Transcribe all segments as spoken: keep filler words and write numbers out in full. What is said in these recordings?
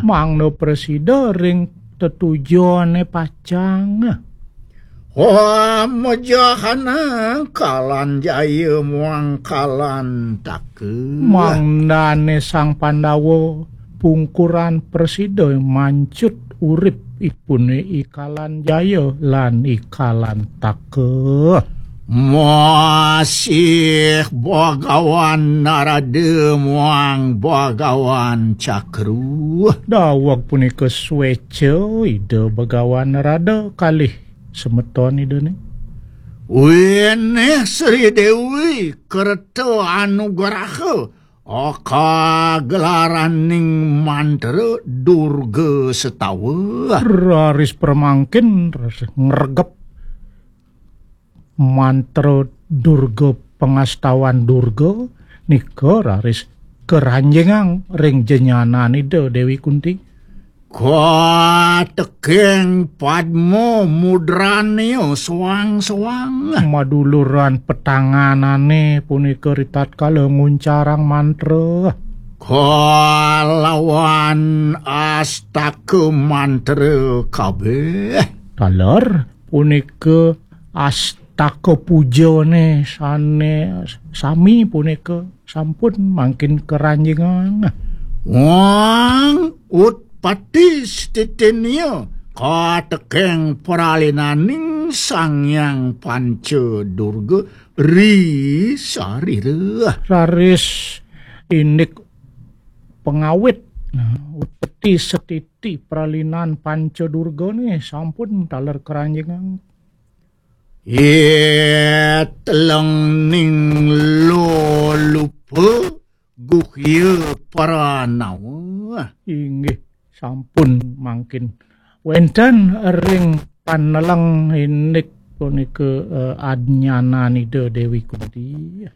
Mangda prasida ring tetujoné pacang. Wah, mejahana Kalan Jaya muang Kalan Taka. Mangdané Sang Pandawa pungkuran prasida mancut urip ipuné I Kalan Jaya lan I Kalan Taka. Masih Bagawan Narada muang Bagawan Cakru. Daweg punika sweca Ida Bagawan Narada kalih semeton Idané. Winih Sri Dewi kerta anugraha, aka gelaraning mantra Durga Setawa. Raris pramangkin, raris ngregep mantra Durga, pangastawan Durga nika raris karanjingang ring jenyanan Ida Dewi Kunti. Kateking padma mudranya soang-soang. Maduluran petanganané punika ritatkala nguncarang mantra. Kalawan astaka mantra kabéh. Taler punika astaka pujané sané sami punika sampun mangkin karanjingang. Wang utpati stitinya kateking pralinaning Sang Hyang Panca Durga ri sarira. Raris indik pangawit, nah, utpati stiti pralinan Panca Durgané sampun taler karanjingang. Itelengning lolupa guhya pranawa. Inggih, sampun mangkin wénten ring paneleng indik punika, eh, adnyanan Ida Dewi Kunti.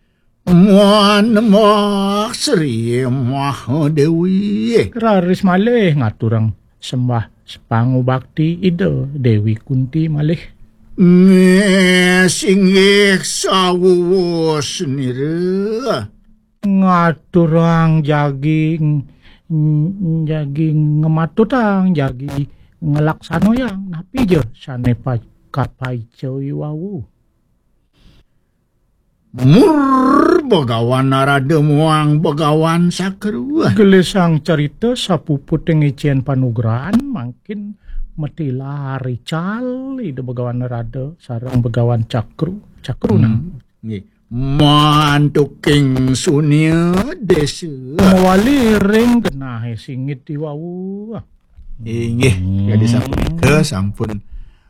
Muan Mbah Sri Mahadewi. Raris malih ngaturang sembah pangubakti Ida Dewi Kunti malih. Nggih, singgih sawuwus nira. Ngaturang jagi, jagi ngematutang, jagi ngelaksanayang. Napi ja sané pa-, kapaica iwau? Mur Begawan Narada muang Begawan Cakru. Gelisang carita sapuputing icén panugrahan mangkin matilar ical Ida Begawan Narada sareng Begawan Cakru. Cakru, hmm, nah. Nggih. Mantuking sunia desa. Mawali ring genahé singit iwau. Inggih, hmm, kadi sapunika sampun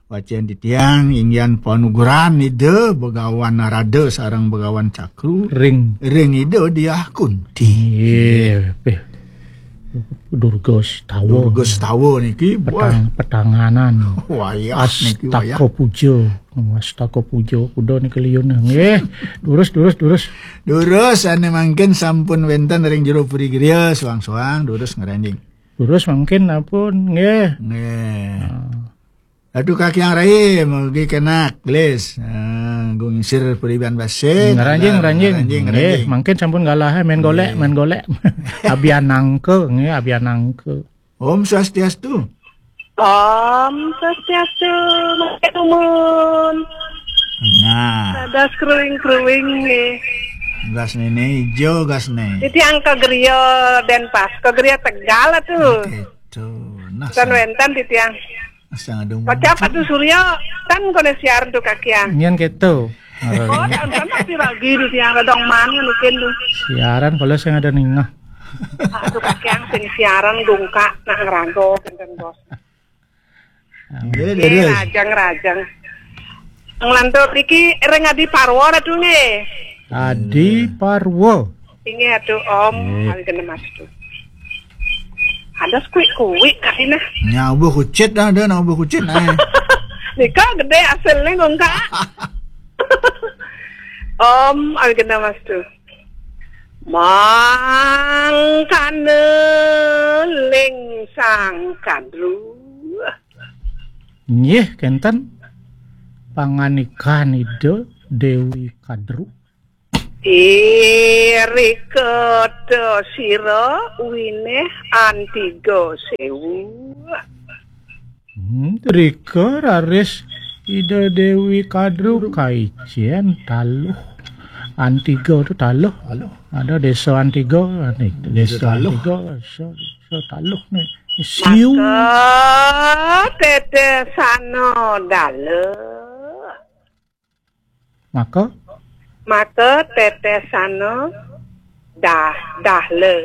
wacén titiang inggihan panugrahan Ida Begawan Narada sareng Begawan Cakru. Ring. Ring Ida Diah Kunti. Nggih, pih. Durga Setawa. Durga Setawa niki, petang, wah, petanganan. Wayah niki, wayah. Astaka puja. Astaka puja kuda niki liun. Nggih. Durus, durus, durus. Durus, ané mangkin sampun wénten ring jero puri griya, soang-soang, durus ngranjing. Durus mangkin ampun, nggih. Nggih. Ah. Ratu Kakiang Rai, mugi kenak, gelis. Ah, gung sir puriban basik. Ngranjing, ngranjing. Ngranjing, nggih, ngranjing. Mangkin sampun galah, eh, main golek, nggih, main golek. Abianangka, nggih, abianangka. Om Swastiastu. Om Swastiastu, Mas Tumun. Nah. Dados kruing-kruing nggih. Gas nene ijo, gas ne. Titiang ka griya Denpasar, ka griya Tegal atuh. Gitu. Nah, wénten, wénten titiang. Sang adung. Kocap atuh Surya, tan koné siaran tuh kakian. Nyén kéto. Oh, tan, tan, tapi lagi tuh tiang redong man ngono tuh. Siaran kalau sing ada ningah. Aduh, kakian sing siaran dongkak nak ngerago, kénten, Bos. Nggih, nggih, leres. Rajang, rajang. Nglantur iki ring Adi Parwa atuh nggih. Adi Parwa. Inggih atuh, Om. Nggih. Kali kena Mas tuh. Ada kuik-kuik kali nah. Nyabuh kucit dah, ada nyabuh kucit nah. Nika gedé asilné kok, Kak. Om, kali kena Mas tuh. Mangkana ling Sang Kadru. Nggih, kénten pangandikan Ida Déwi Kadru. Irika ta sira winéh antiga séwu. Hmm, rika raris Ida Déwi Kadru kaicén taluh. Antiga tu taluh. Taluh. Ada désa Antiga, ni, désa Taluh. Antiga, so, so taluh ni. Siu. Maka tetesana dala. Maka? Maka tetesana dah, dahla.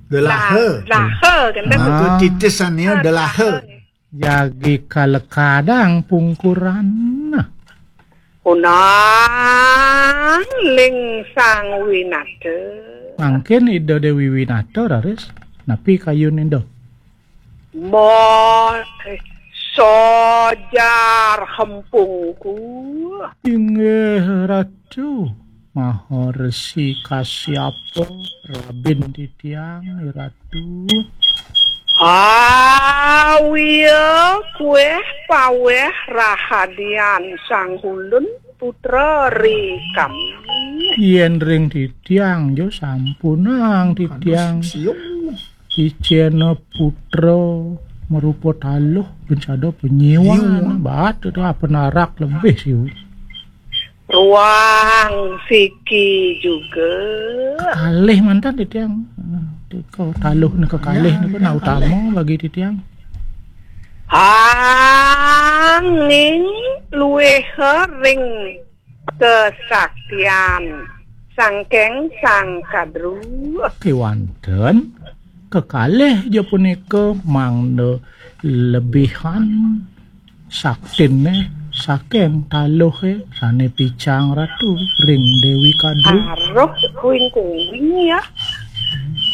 Delaha. Dah, daha, kan? Ah. Maka tetesana delaha. Jagi kalekadang pungkuran. Unang ling Sang Winata. Mangkin Ida Déwi Winata, raris. Napi kayun Ida? Ma, eh, sojar hempungku. Inggih Ratu, Maha Resi Kasyapa, rabin titiang, Ratu. Awia kuéh pawéh rahadian Sang Hulun putra ri kami. Yén ring titiang jo sampunang titiang. Icéna putra marupa taluh, ben sada panyiwan, bat tu apa narak lebih siu. Ruang siki juga. Kekalih mantan titiang. Tiko taluh ni kekalih ni pun utama bagi titiang. Angin luwih ring kesaktian sangking Sang Kadru. Kéwanten kekalih ja punika mangda lebihan saktiné saking taluhé sané picang Ratu ring Déwi Kadru. Aruh kuing-kuing ya.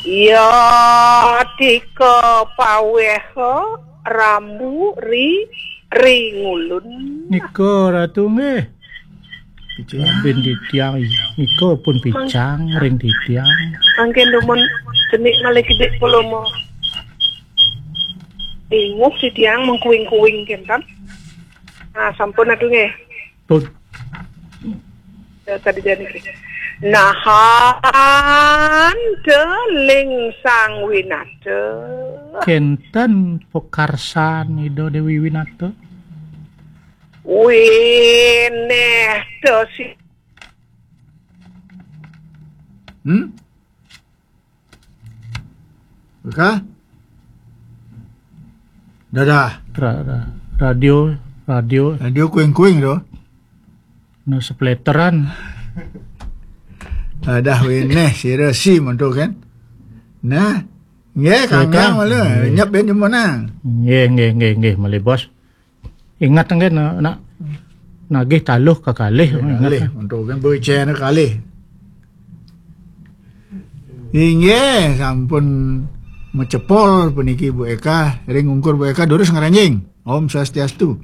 Ya tika paweha rambu ri ri ngulun. Nika Ratu nggih. Picang. Bin titiang nika pun picang ring titiang. Mangkin dumun cenik malih kidik pulama. Inguh titiang mengkuing-kuing kinten. Nah, sampun atuh nggih. Pun. Ya, tadi jani nggih. Nahan teling Sang Winata. Kenten pekarsan Ida Déwi Winata. Winéh tesi. Hmm? Oke. Dadah. Ra-, ra-, radio, radio. Radio kuing-kuing tu. No sepleteran. Dadah winéh sira si mantu kan. Nah, nggih kangkang malu. Nyep ben jumenang. Nggih, nggih, nggih, nggih, malih bos. Ingat nggih nak, nak nagih taluh kekalih. Kalih, untuk kan becana kalih. Inggih, sampun macepol puniki Bu Eka, ring ungkur Bu Eka durus ngranjing. Om Swastiastu.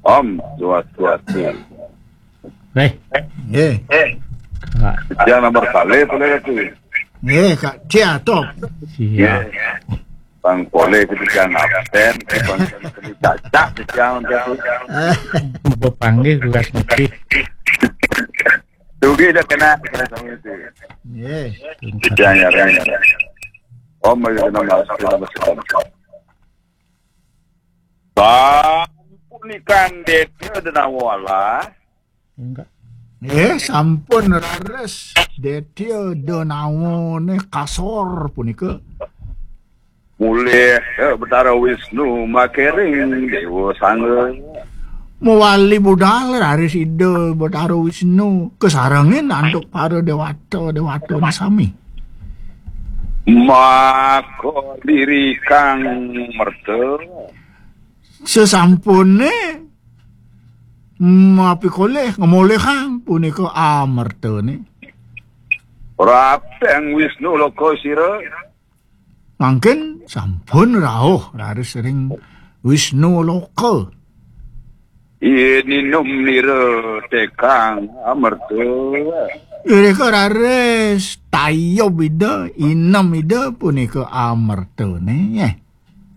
Om Swastiastu. Reh. Nggih. Kak. Yang nomor kali boleh tu. Nggih, Kak Cia top. Cia. Bang boleh kita jangan absen, bang cacak jangan tu. Bepanggil tugas nanti. Dugi dah kena, kena sama itu. Nggih. Jangan ya. Om ayo kena masuk, kena masuk. Sampunikan Détya Denawala. Enggak. Eh, sampun rares Détya Denawane kasor punika. Mulih, eh, Betara Wisnu makering Déwa Sangga. Mawali budal raris Ida Betara Wisnu kasarengin antuk para déwata, déwatane sami. Maka lirikang merta. Sesampune mapikolih ngemolihang punika amertane. Prapteng Wisnu Loka sira. Mangkin sampun rauh raris ring Wisnu Loka. Ininum nira tekang amerta. Irika raris tayub Ida, inem Ida punika amertane.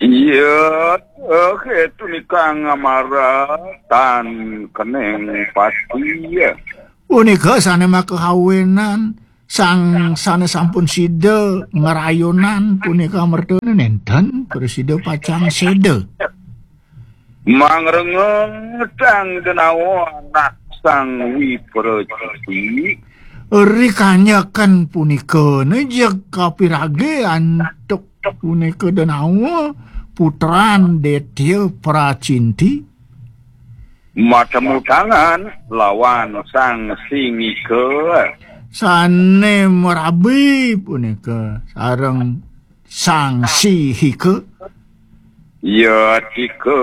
Iya, eh, ketu nikang amara tan keneng pati. Punika sane makahawenan, sang sane sampun sida ngrayunan punika amertane nenten prasida pacang seda. Mangrengetang denawa anak sang Wipra Citi. Rikanyakan punika, ne jeg kapirage antuk punika denawa putran Detya Pracinti. Matemu tangan lawan sang Singika. Sane marabi punika sareng sang Sihika. Yatika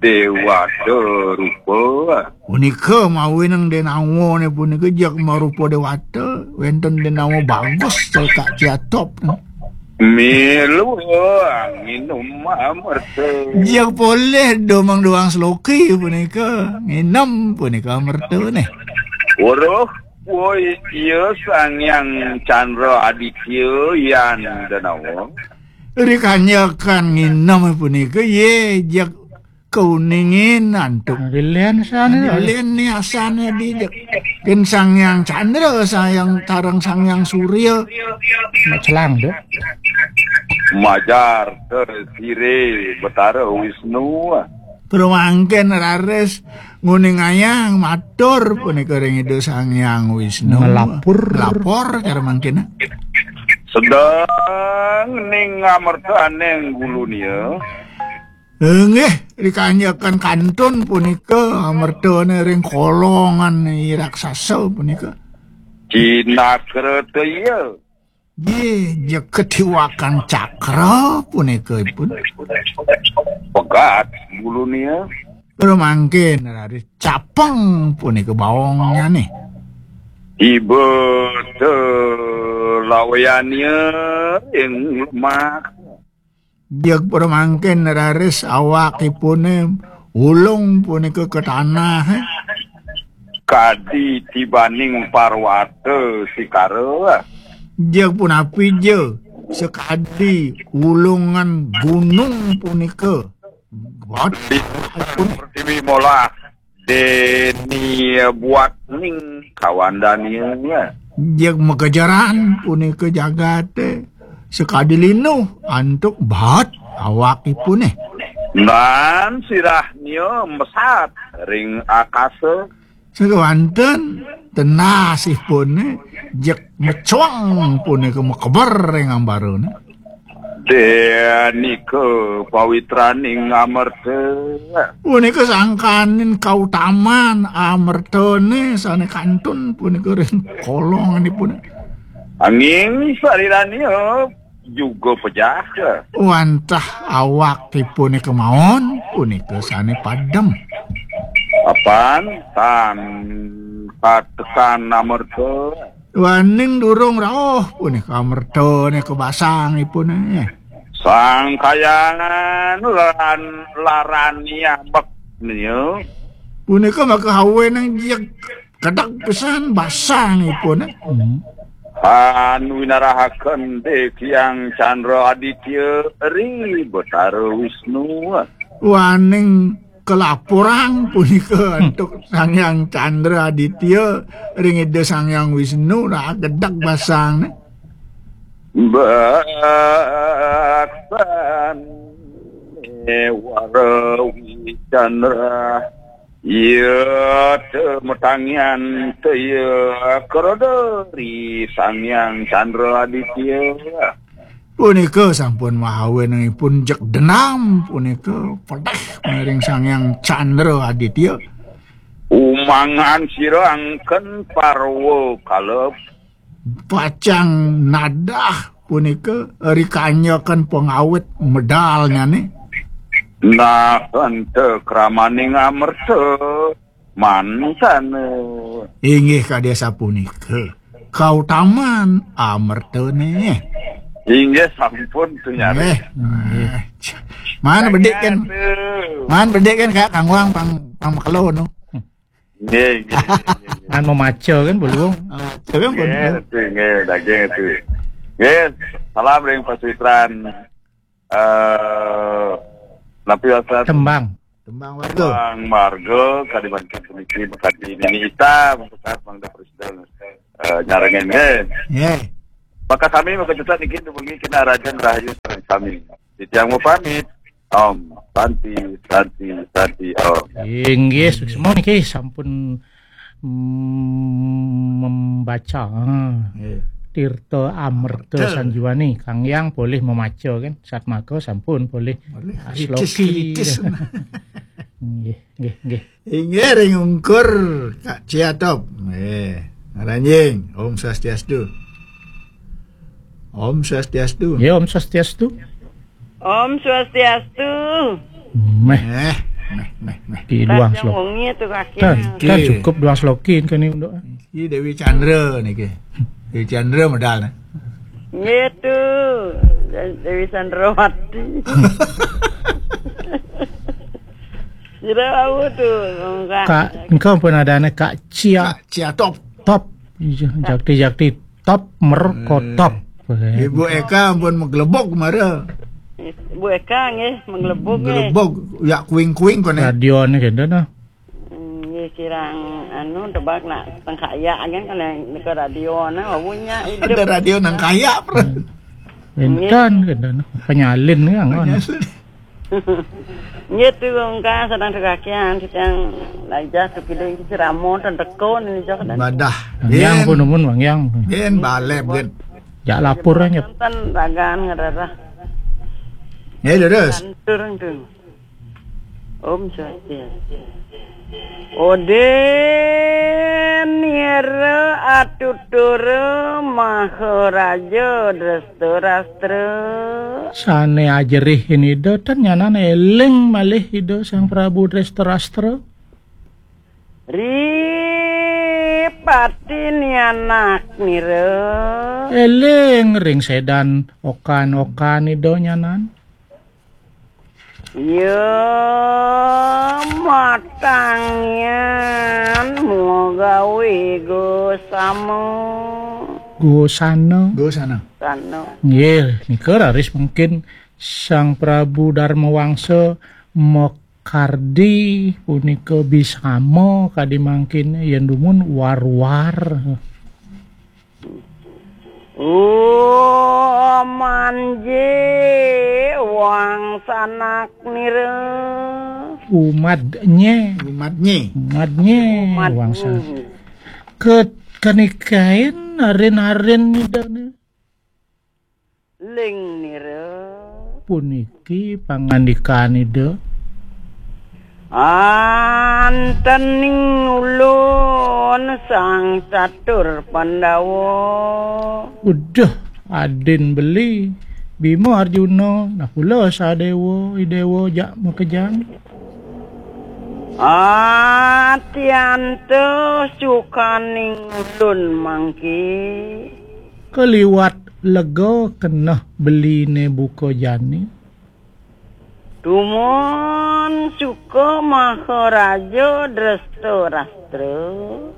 dewata rupa. Punika mawinan denawane punika jeg marupa dewata, wenten denawa bagus cekak ciatop. Milu nginum amerta. Jeg polih domang doang seloki punika, nginem punika amertane. Weruh, woi, iya Sang Hyang Chandra Aditya yan denawa. Rikanyakan nginem punika, ye, jeg kauningin antuk. Lilian sane, lilian ni asane di jeg. Ken Sang Hyang Chandra, Sang Hyang Tarang, Sang Hyang Surya. Celang, Dok. Majar te sire Betara Wisnu. Pramangkin raris nguningayang matur punika ring Ida Sang Hyang Wisnu. Melapor. Lapor cara mangkin. Sedeng ning amertaning gulunia. Inggih, rikanyakan kantun punika amertane ring kolongan i raksasa punika. Cinakra te iya. Nggih, jeg ketiwakan cakra punika ipun. Pegat gulunia. Pramangkin raris capeng punika baongnyane. Iba te lawayania ing lemah. Jeg pramangkin raris awakipune ulung punika ka tanah. Kadi tibaning parwata sikara. Jeg punapi ja sakadi ulungan gunung punika. Di pertiwi molah deni buat ning kawandania. Jeg makejaran punika jagate sakadi linuh antuk baat awakipune. Nan sirahnya mesat ring akasa. Sakewanten tenasipune jeg mecuang punika makeber ring ambarane. Denika pawitraning amerta. Punika sangkaning kautaman amertane sane kantun punika ring kolonganipun. Anging sarirania juga pejah. Wantah awakipune kemawon punika sane padem. Apan tan katekan amerta. Waning durung rauh punika amertane kabasangipune. Sang Kayangan laran, larani ambek nia. Punika maka hawe nang jek kedek pisan basangipune. Hmm. Tan winarahaken Dek Hyang Chandra Aditya ri Betara Wisnu. Waning kelaporang punika antuk Sang Hyang Chandra Aditya ring Ida Sang Hyang Wisnu, nah, gedeg basang. Baksan wara wicandra, iya te metangian te iya keroda ri Sang Hyang Chandra Aditya. Punika sampun mahawenangipun jek denam punika pedeh miring Sang Hyang Chandra Aditya. Umangan sira angken parwa kalep. Pacang nadah punika rikanyakan pengawit medalnyane. Nah, ente kramaning amerta. Mantane. Inggih kadi asapunika. Kautaman amertane. Inggih sampun tu nyari. Nggih, nggih. Mana bedik kan? Aduh. Mana bedik kan kayak kangwang pang pang makelo no. Nggih, nggih, nggih, nggih. Kan memaca kan belum? Maca kan belum. Nggih, tu, nggih, daging tu. Nggih, salam ring Pak Sitran. Eh, napi wasan? Tembang. Tembang warga. Tembang warga, kadi mangkin puniki, makadi nini ita, mangkat mangda presiden, eh, nyarengin, eh. Nggih. Maka sami maka juga niki dumungi kinarajan rahayu sareng sami. Titiang mapamit. Om Santi, Santi, Santi, Om. Inggih, suksma niki sampun, mm, membaca, ah. Nggih. Tirta Amerta Betul. Sanjiwani, Kang Yang polih memaca kan, satmaka sampun polih Boleh asloki. Kritis, kritis. Nggih, nggih, nggih. Inggih ring ungkur Kak Ciatop. Nggih. Ngaranjing. Om Swastiastu. Om Swastiastu. Ya, Om Swastiastu. Om Swastiastu. Meh. Eh, meh, meh, meh. Di duang Tanjung slok. Wengi tu kaki. Kan, Nggih. Kan cukup duang slokin kan ini untuk. Iki Dewi Chandra niki. Dewi Chandra medal nih. Nggih tu. Dewi Chandrawati. Kira aku tu, Kak. Kak, engko pun ada anak Kak Cia. Kak Cia Top. Top. Iya, jakti-jakti top, merko Hmm. Top. Ibu Eka ampun menggelebok kemara. Ibu Eka nggih, menggelebok nggih. Gelebok, ya kuing-kuing kone. Radio ni kena dah. Hmm, nggih kirang anu tebak nak tengkaya kan kalau nika radio na wawunya hidup. Ada radio nang kaya, bro. Enten kena penyalin ni angon. Penyalin. Nggih tu engka sedang tekakian sedang lajah tu kidung iki ceramo ten teko ni jok dan. Badah. Yang Yen. Pun umun Bang Yang. Yen balep, Yen. Jak lapor aja. Enten ragan ngerarah. Ya, terus. Lantur tu. Om Swastiastu. Ode nira atutura Maharaja Dresta Rastra. Sane ajerihin Ida, tan nyanan eling malih Ida Sang Prabu Dresta Rastra. Ri pati nianak nira. Eling ring sedan okan-okan Ida nyanan. Ya, matangnya mugawe gosama. Gosana. Gosana. Sana. Nggih, nika raris mungkin Sang Prabu Darma Wangsa makardi punika bisama kadi mangkin yen dumun war-war. Oh, manje wangsanak nira. Umadnye. Umadnye. Umadnye Umadnye. Wangsa. Ke-, kanikain arin-arin nidane. Ling nira. Puniki pangandikan Ida. Antening ulun Sang Catur Pandawa. Uduh, adin beli. Bima Arjuna, nah kula Sadewa, Idewa jak makejang. Atianto sukaning ulun mangki. Kaliwat lega keneh beline buka jani. Tumun suka Maharaja Dresta Rastra.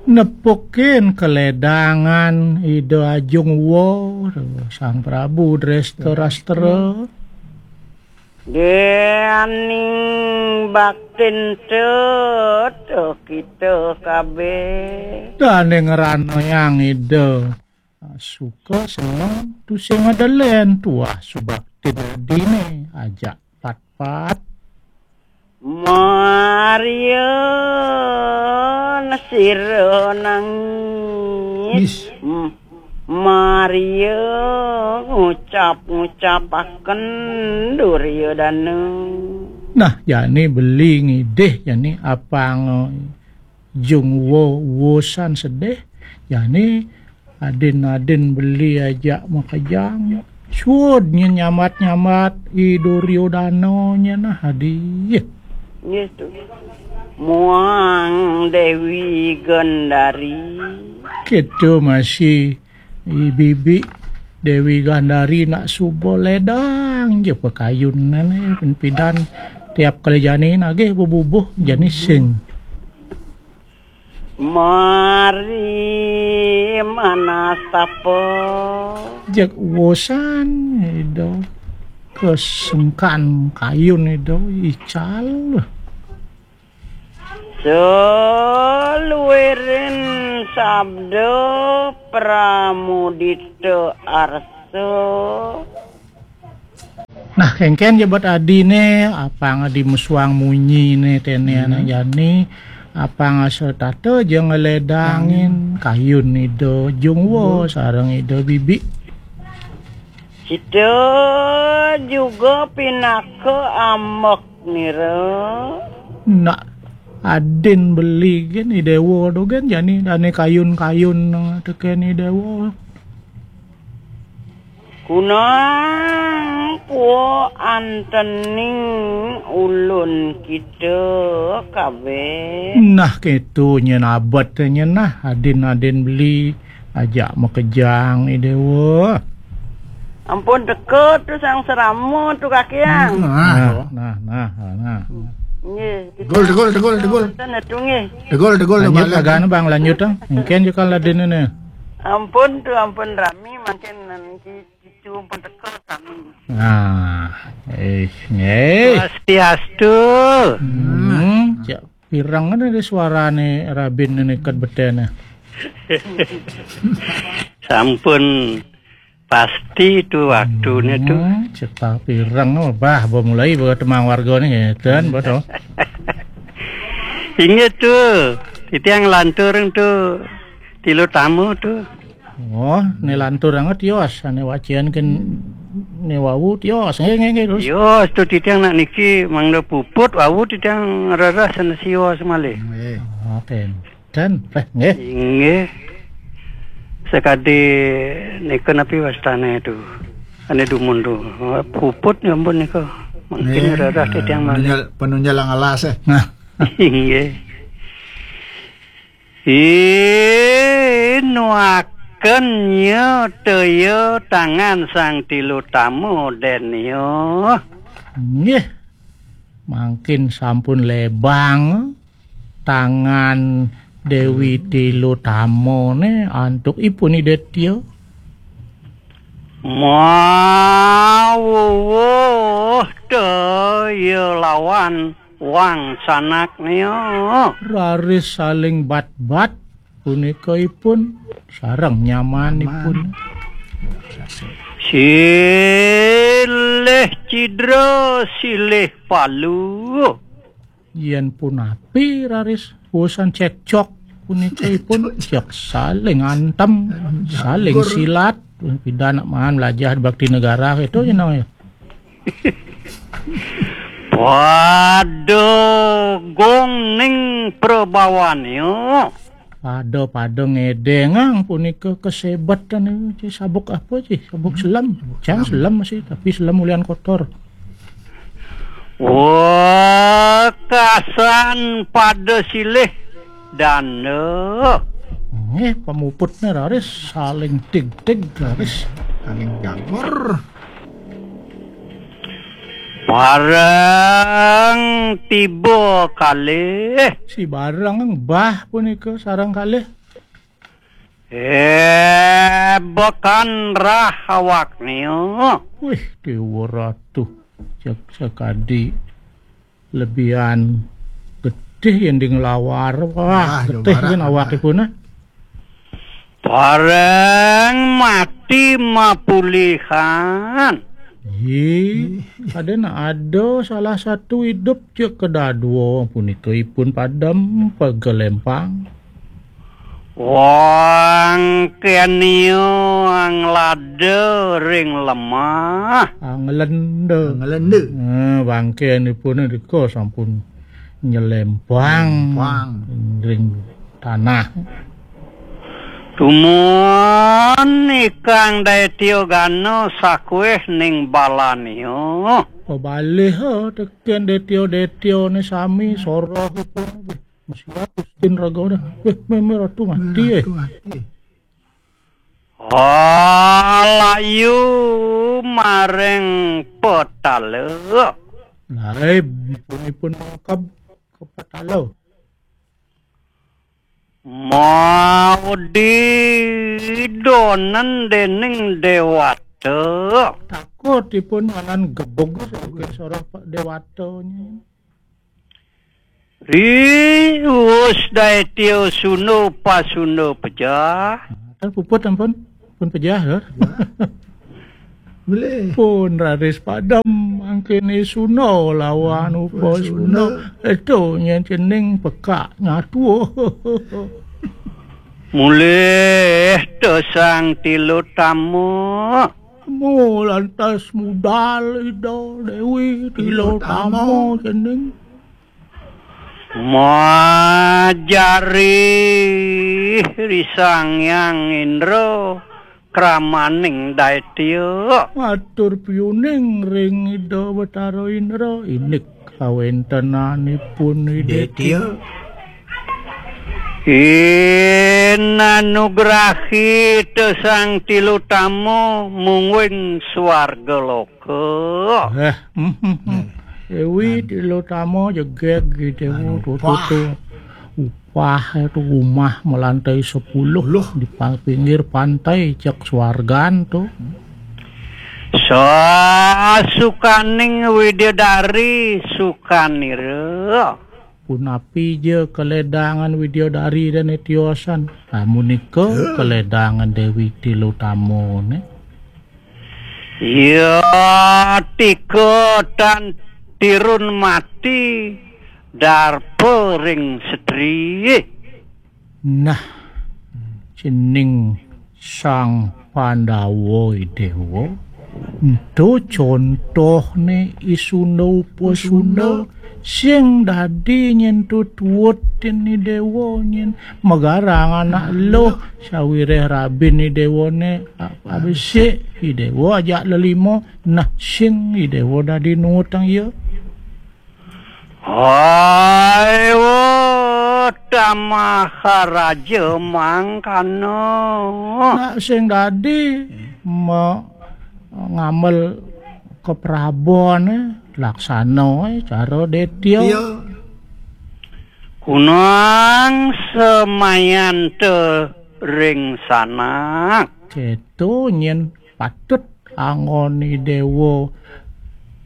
Nepukin keledangan Ida Ajung Wa, Sang Prabu Dresta Rastra. Dening baktin teta kita kabeh. Dane ngranayang Ida. Suka seneng tusing adelen tuah subaktin adine ajak pat-pat. Maria sira nangis. Nis. M-, Maria ngucap-ngucapaken Duryodana. Nah, jani beli ngidih jani apang jung wo wosan sedih. Jani adin-adin beli ajak makejang. Suud nye nyambat-nyambat I Duryodana nye nah adi. Nggih tu. Muang Dewi Gandari. Kita masih I bibi Dewi Gandari nak suba ledang je pakayun nane pidan tiap kali jani nagih bebubuh jani sing. Mari manastapa. Jek wosan Ida kesengkan kayun Ida ical. Saluiring sabda pramudita arsa. Nah, kéngkén ja bad adine, apang dimesuang munyine tene anak jani, apang asa tata ja ngeledangin kayun ida jungwa sareng ida bibi. Kita juga pinaka ambek nira. Nak adin beli gen i dewa tu gen jani dane kayun-kayun tekén i dewa. Kunang pua antening ulun kita kabeh. Nah, keto nyen abet nyen nah, adin-adin beli ajak makejang i dewa. Ampun teka tu sang serama tu kakiang. Nah, nah, nah, nah. Nggih. Tegul, tegul, tegul, tegul. Wonten tu nggih. Tegul, tegul, lanjut kagane bang, lanjut ah. Mungkin juga ladene ne. Ampun tu, ampun rami mangkin niki. Itu pun teka kami. Nah, eh, nggih. Swastiastu. Hmm, cak pirang ada di suarane rabin ini ket betene. Sampun pasti tu waktune tu. Hmm, cak pirang, oh, bah, ba mulai ba temang wargane ngeten, ba to. Inggih tu, titiang lantur tu tilu tamu tu. Oh, ne lantur anget tios, ane wacian ken ne wau tios. Nggih, nggih, nggih, terus. Tios tu titiang nak niki mangda puput wau titiang rereh sana sios malih. Nggih. Oh, ten. Ten, eh, nggih. Inggih. Sekadi nika napi wastane tu. Ane dumun tu. Puput ya ampun nika. Mungkin rereh titiang malih. Penunjal, penunjal ang alas, eh. Nah. Inggih. Inuaken nya teya tangan sang tilu tamu den ya. Nggih. Mangkin sampun lebang tangan Dewi tilu tamune antuk ipun idetya. Mawuwuh teya lawan wangsanak nia. Raris saling bat-bat punika ipun sareng nyamanipun. Silih cidra, silih palu. Yen punapi raris urusan cekcok punika ipun cek saling antem, saling silat. Pidan nak mangan belajar bakti negara itu jeneng ya. Pada gong ning prabawane. Pada-pada ngedengang punika kesebetan niku, ci sabuk apa, ci? Sabuk selam. Cang selam masih, tapi selam ulian kotor. Wekasan pada silih danda. Nggih, pamuputne raris saling tig-tig raris. Saling gagor. Bareng tiba kalih. Si bareng bah punika sareng kalih. Eh, bekan rah awakne. Wih, Dewa Ratu. Cek sekadi lebihan getih yen di nglawar. Wah, getih kan awakipun, ah. Bareng mati mapulihan. Ih, ada nak ada salah satu hidup cek kedadua punika ipun padem pegelempang. Wong kenia nglada ring lemah. Anglenda. Anglenda. Eh, bangkenipun rika sampun nyelempang ring tanah. Tumun ikang Detya Gana sakueh ning balania. Pebalih, eh, teken Detya-Detya ne sami soroh ipun. Masih watus din raga udah. Weh, meme ratu mati, eh. Alayu maring petala. Lah, eh, ipun, ipun mangkab ke petala. Mau didonen dening dewata. Takut ipun anan gebug sebagai seorang dewatanya. Ri wus daetya sunda pasunda pejah. Ter puput ampun. Pun pejah, Lur. Boleh. Pun raris padem mangkene sunda lawan upasunda. Itu nyen cening pekak nyatu. Mulih te Sang Tilutama. Mu lantas mudal Ida Dewi Tilutama cening. Majari Ri Sang Hyang Indra kramaning daetya. Matur piuning ring Ida Betara Indra, indik kawentenanipun Ida Detya. Inanugrahi te Sang Tilutama mungguing swarga loka. Eh, mm, mm, mm. Dewi Tilutama jegeg gitu, tuh, tuh, tuh. Upah itu rumah melantai sepuluh di pa-, pinggir pantai, cek swargan tuh. Sasukaning widadari sukanira. Punapi ja kaledangan widadari dane tiosan. Amunika kaledangan Dewi Tilutama ne. Ya tika tan tirun mati darpa ring setri. Nah, cening Sang Pandawa Dewa, ento contohne isunda upasunda, sing dadi nyen tututin Dewa nyen magarang anak luh, sawireh rabin Dewane a-, abesik Dewa ajak lelima, nah sing Dewa dadi nuutang iya. Hai, wo, tamaharaja mangkana. Nak sing dadi me-, ngamel keprabon, eh, laksana, eh, cara detya. Iya. Kunang semayanta ring sanak. Keto nyen patut anggon Dewa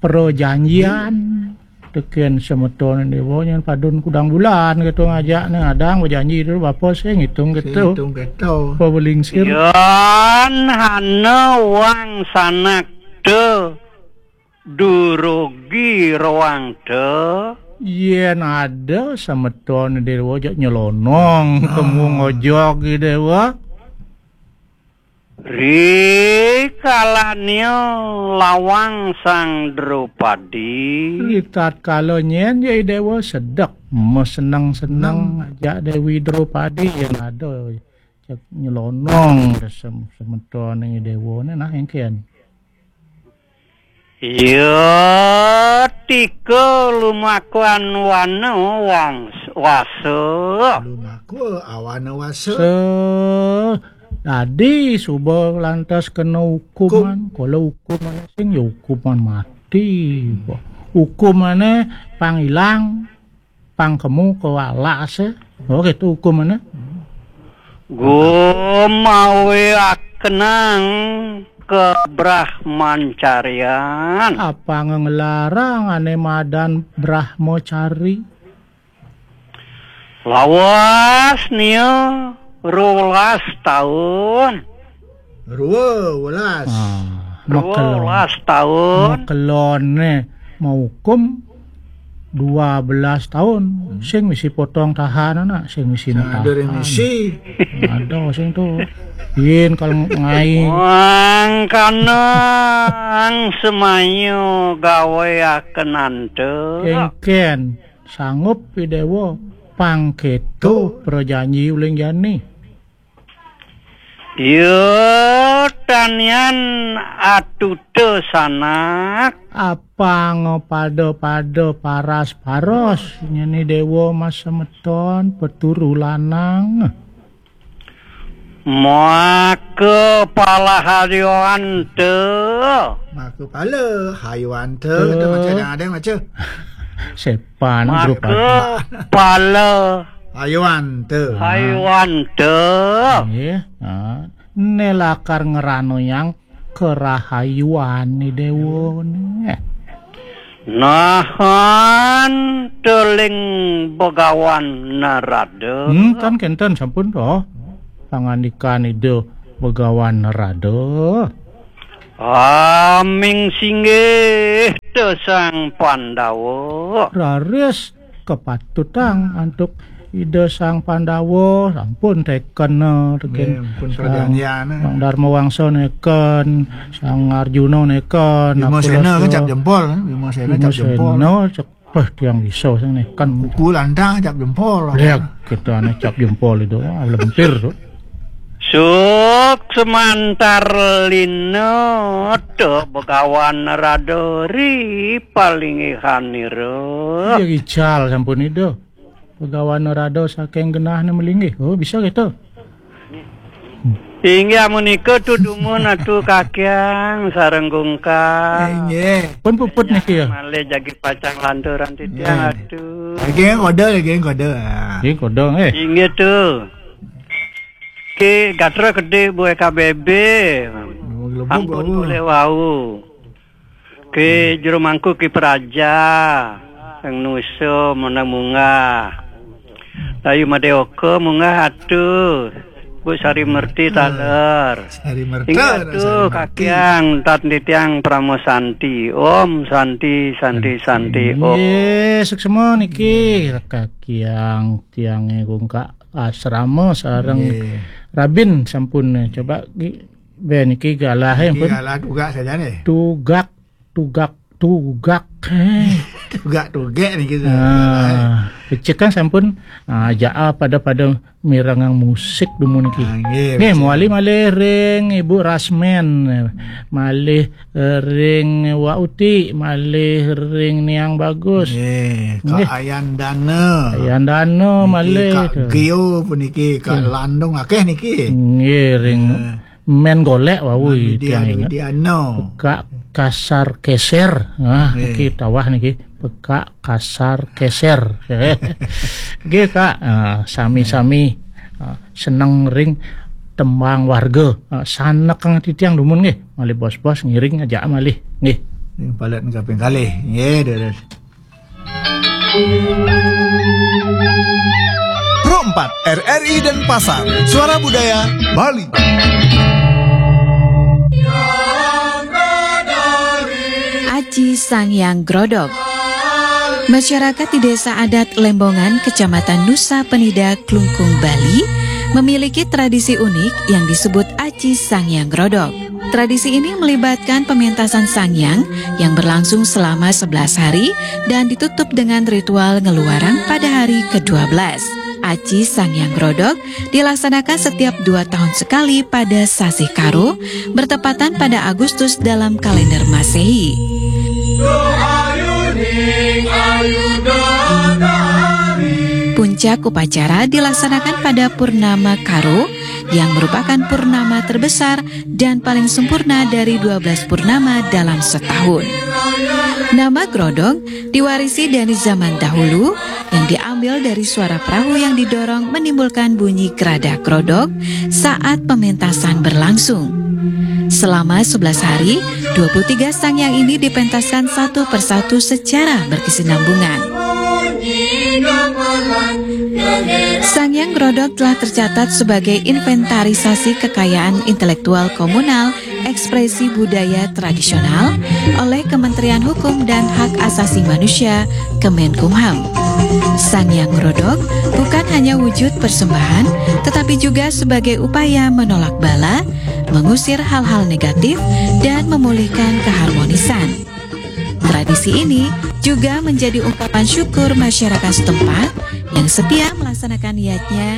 prajanjian. Teken semeton Dewa nyen padun kudang bulan gitu ngajak ne ngadang berjanji dulu bapa sing ngitung gitu. Ngitung gitu. Apa belingsir? Yan hana wang sanak te durugi roang te. Yen ada semeton Dewa jak nyelonong, ah, temu ngojog Dewa. Ri kalanya lawang Sang Drupadi. Ri tatkala nyen ya Dewa sedek, meseneng-seneng ajak Dewi Drupadi yang ada cek nyelonong sem-, semeton ing Dewa ne nah engken. Ya tika lumakuan wana wang-, wasa. Lumakua awana wasa. Se-, dadi suba lantas kena hukuman. Hukum. Kala hukuman sing ya hukuman mati. Hukumane pang ilang, pang kemu ke alas, eh. Oh, gitu hukumane. Gumawe akenang ke Brahmancarian. Apa ngelarang ane madan Brahmacari? Lawas nia rolas taun. Rua welas. Ah, rua welas taun. Makelone mau hukum dua belas tahun. Hmm. Sing misi potong tahanan, nak, sing misi mutahan. Ada remisi. Ada sing tu. Yen kalau ngai. Wangkana ang semayu gawe akenante. Engken sanggup Idewa pangketo prajanji uling jani. Ya tanian atuta sanak. Apang pada-pada paras-paros nyeni Dewa mas semeton peturu lanang. Maka palahadiwanta. Maka pala hayuanta. Kita macam ada yang macam. Sepan. Maka pala hayuanta. Hayuanta. Nggih. Ha. Ne lakar ngranoyang kerahayuan ni Dewa ne. Nahan teling Begawan Narada. Hmm, tan kenten sampun to. Pangandikan Ida Begawan Narada. Aming singgih to Sang Pandawa. Raris kepatutang antuk Ida Sang Pandawa, sampun teken, eh, teken. Nggih, pun Sang, prajanjian, eh. Sang Darma Wangsa neken, Sang Arjuna neken, Bima Sena kan cap jempol, eh. Bima Sena cap jempol. Bima Sena cek, wah, tiang bisa sing neken. Kuku Landang cap jempol. Lihat, kita ane cap jempol itu, ah, lentir tuh. Suk semantar lino to Begawan Narada ri palinggihanira. Iya, ical sampun Ida. Begawan Narada saking genahne melinggih. Oh, bisa gitu. Inggih amunika tu dumun Atu Kakyang sareng Gungkang. Inggih. Pun puput niki ya. Malih jagi pacang lanturan titiang Atu. Lagi kodo, lagi kodo. Ah. Nggih, kodo, eh. Inggih tu. Ki gatra kedih Bu E K B B. Ampun boleh wau. Ki juru mangku Ki Praja, Sang Nusa menang munggah. Dayu Madeoka munggah Atu. Bu Sari Merti taler. Sari Merti, Inggih Atu, Sari Merti. Kakyang, tat titiang Parama Santi. Om Santi, Santi, Santi, Om. Nggih, suksma niki Kakyang tiange Gungkang asrama sareng Rabin sampun, eh, coba Ki, be niki galahe. Niki pun galah tugak saja nih. Tugak, tugak, tugak. Tugak tugek niki. Ah, becik kan sampun, ah, jaa pada-pada mirengang musik dumun niki. Ah, nggih, nggih, becik. Mawali malih ring Ibu Rasmen, malih ring Wa Uti, malih ring Niang Bagus. Nggih, Kak Nggih. Ayandana. Ayandana niki, malih Kak tu. Gio puniki, Kak Landung akeh niki. Nggih, ring Men golek wau. Widya, tiang inget. Widiana. Pekak kasar keser. Nah, nggih. Niki tawah niki. Pekak kasar keser. Nggih, Kak. Ah, sami-sami, ah, seneng ring tembang warga. Ah, sanekang titiang dumun nggih. Malih bos-bos ngiring aja malih. Nggih. Ring palet kaping kalih. Nggih, terus. Pro empat, R R I Denpasar, Suara Budaya Bali. Aji Sangyang Grodog. Masyarakat di Desa Adat Lembongan, Kecamatan Nusa Penida, Klungkung, Bali, memiliki tradisi unik yang disebut Aji Sangyang Grodog. Tradisi ini melibatkan pementasan sangyang yang berlangsung selama sebelas hari dan ditutup dengan ritual ngeluarang pada hari kedua belas. Aji Sangyang Grodog dilaksanakan setiap dua tahun sekali pada sasih Karo, bertepatan pada Agustus dalam kalender Masehi. Puncak upacara dilaksanakan pada Purnama Karo, yang merupakan purnama terbesar dan paling sempurna dari dua belas purnama dalam setahun. Nama Grodog diwarisi dari zaman dahulu, yang diambil dari suara perahu yang didorong menimbulkan bunyi geradah grodog saat pementasan berlangsung. Selama sebelas hari, dua puluh tiga sangyang ini dipentaskan satu persatu secara berkesinambungan. Sangyang Grodog telah tercatat sebagai inventarisasi kekayaan intelektual komunal, ekspresi budaya tradisional oleh Kementerian Hukum dan Hak Asasi Manusia, Kemenkumham. Sangyang Grodog bukan hanya wujud persembahan, tetapi juga sebagai upaya menolak bala, mengusir hal-hal negatif, dan memulihkan keharmonisan. Tradisi ini juga menjadi ungkapan syukur masyarakat setempat yang setia melaksanakan yadnya